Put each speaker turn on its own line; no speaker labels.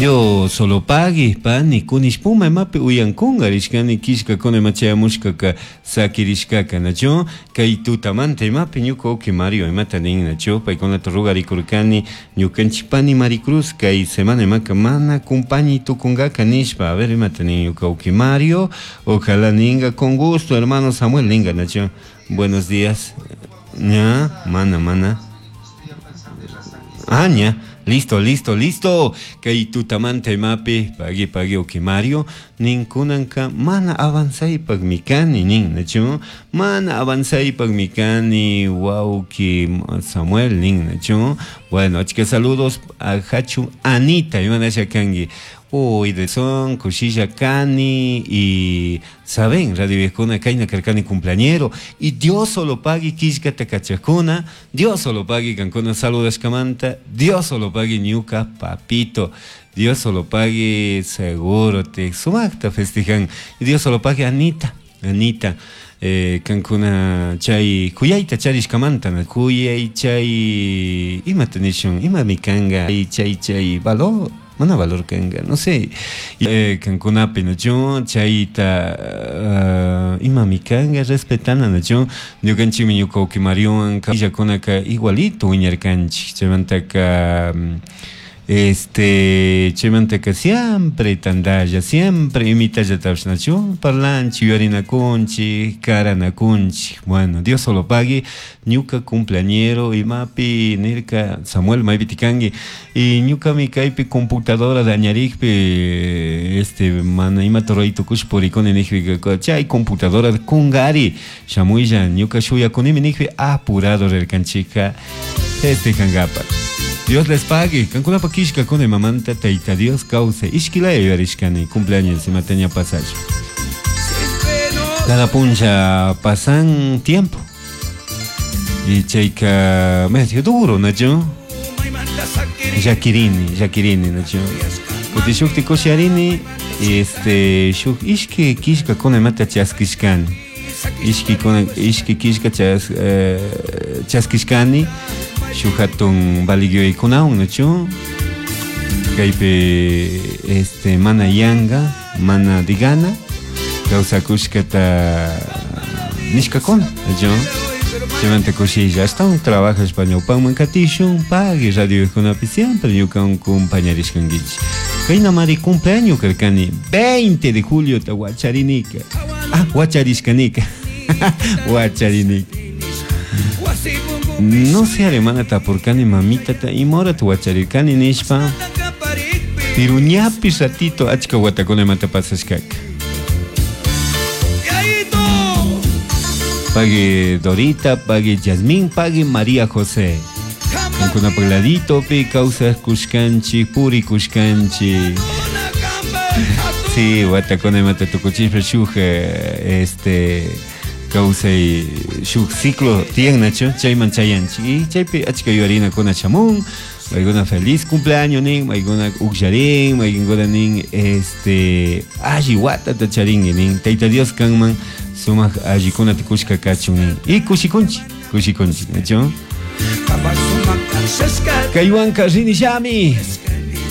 Dios solo pagui pani kunishpuma imapi uyankunga rishkani killkakuna ima chayamushkaka sakirishkaka nachu kay tutamanta imapi ñuka wawki Mario imata nin nachu paykunata rugarikurkani ñukanchik pani Maricruz kay semana imaka mana kumpañi tukunkaka nishpa. A ver, imata nin ñuka wawki Mario. Ojalá ninga con gusto, hermano Samuel ninga nachu. Buenos días. Ña, mana, mana. Ah, ña. Listo, listo, listo. Kay tutamanta imapi, pagui, pagui, wawki Mario, nin kunanka mana avanzaypaqmi kani, nin, nachu? Mana avanzaypaqmi kani, wawki Samuel, nin, nachu? Bueno, achka saludos a Hachu Anita, imanasha kanki. Uy, de son, kushilla kani y saben, radio viejuna kayna karkani cumpleañero y Dios solo pagui killkata kachakuna, Dios solo pagui kankuna saludashkamanta, Dios solo pagui ñuka papito, Dios solo pagui seguro te sumakta festejan, y Dios solo pagui Anita, Anita, kankuna chay kuyayta charishkamanta, kuyay chay imata nishun, imami kanga, chay chay valor, mana valor kanga, no sé, kankunapi nachu chayta imami kanga respetana nachu ñukanchikmi ñuka wawki Mariowan illakunaka igualito wiñarkanchik chaymantaka chaymantaka siempre tantalla, siempre imitallatapish nachu parlanchik, yuyarinakunchik, karanakunchik. Bueno, Dios solo pagui ñuka cumpleañero imapi nirka Samuel maypiti kanki y ñukami kaypi computadora dañarikpi mana imata ruray tukush purikuni nijpika chay computadora kungari shamuylla ñuka shuyakunimi nijpi apurado rirkanchika festejankapak. Dios les pague. Kankunapa killkakuna imamanta Tayta Dios kawsay ishkilaya yuyarishkani cumpleaños imata ña pasashpa. Cada puncha pasan tiempo. Y chayka medio duro, nachu? Llakirini, llakirini, nachu? Kuti shukti kusharini, shuk ishki killkakuna imata chaskishkani. Ishki kuna, ishki killka chaskishkani, shuk hatun valigyoykunawan, nachu? Kaypi, mana yanga, mana digana, kawsakushkata nishkakuna, nachu? Chaymanta kushilla, ashtawan trabajashpa ñawpanman katishun, pagui radiokunapi siempre ñukan compañarishkankichik. Kaynamari cumpleaños karkani, 20 de julio ta wacharinika. Ah, wacharishkanika. Wacharinika. No sé, alemana tapurkani mamita ta imora ta wacharirkani nishpa. Pero ñapi ratito achka watakuna imata pasashkaka. Pague Dorita, pague Yasmín, pague María José. Kankunapa ladito pi kawsaj kushkanchik, puri kushkanchik. Sí, watakuna imata tukuchishpa shuk, kawsay shuk ciclo tiyan nachu, chayman chayanchik. Y chaypi achka yuyarinakuna shamun, maykuna feliz cumpleaños nin, maykuna ukllarin, maykuna nin, alli watata charinki nin, Tayta Dios kanman sumak allikunata kushka kachun nin. Y kushikunchik, kushikunchik, nachu? Kaywanka rinishami.